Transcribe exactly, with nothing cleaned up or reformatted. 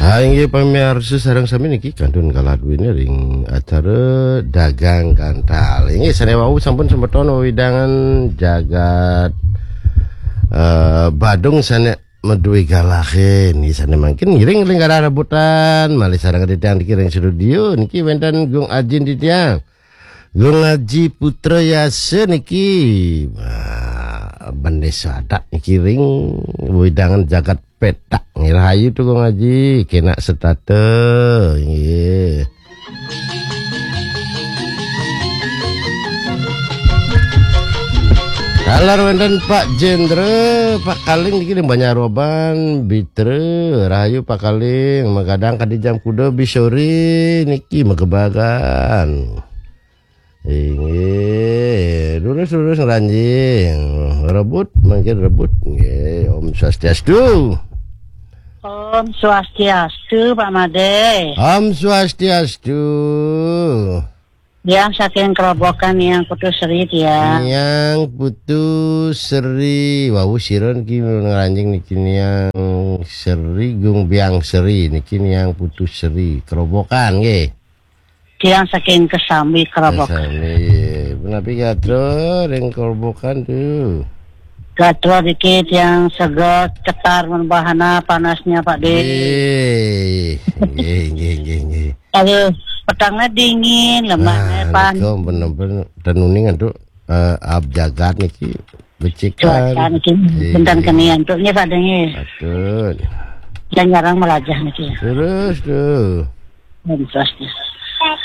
Ah, inggih pamiarsa sareng sami niki kantun kaladuene ring acara Dagang Gantal. Inggih sane wau sampun semeton wewidangan jagat eh, Badung sane madue galahe niki sane mangkin ngiring ring arah rebutan malih sareng titiang niki ring studio niki wenten Gung Ajin titiang. Gung Aji Putra Yasa niki. Wah, bendesa adat niki ring wewidangan jagat petak. Nggih, rahayu tu Gung Aji, kenak setata. Nggih. Taler wenten Pak Jendra, Pak Kaling niki ring Banjar Roban, Bitra, rahayu Pak Kaling, magadang kadi jam kuda bisori niki magebagan. Inggih, lurus-lurus ngranjing. Rebut, mangkin rebut. Nggih, Om Swastiastu. Om Swastiastu, Pak Made. Om Swastiastu. Yang saking Kerobokan yang Putu Seri ya. Yang Putu Seri. Wau sira niki ngranjing niki niang Seri Gung Biang Seri niki niang Putu Seri. Kerobokan nggih. Tiang saking Kesambi Kerobokan. Kesambi. Menapi gatra ring Kerobokan tu? Gatra dikit yang segot, ketar membahana panasnya Pak De. Nggih, nggih, nggih, nggih, nggih. Aduh, petangnya dingin, lemahnya Ah, pan. Niku bener-bener tenuning antuk eh, ab jagat niki becikan. Cuaca niki Iya. Benten kenian tu nggih Pak De nggih. Patut. Dan jarang melajah niki. Terus tu. Om Swastiastu.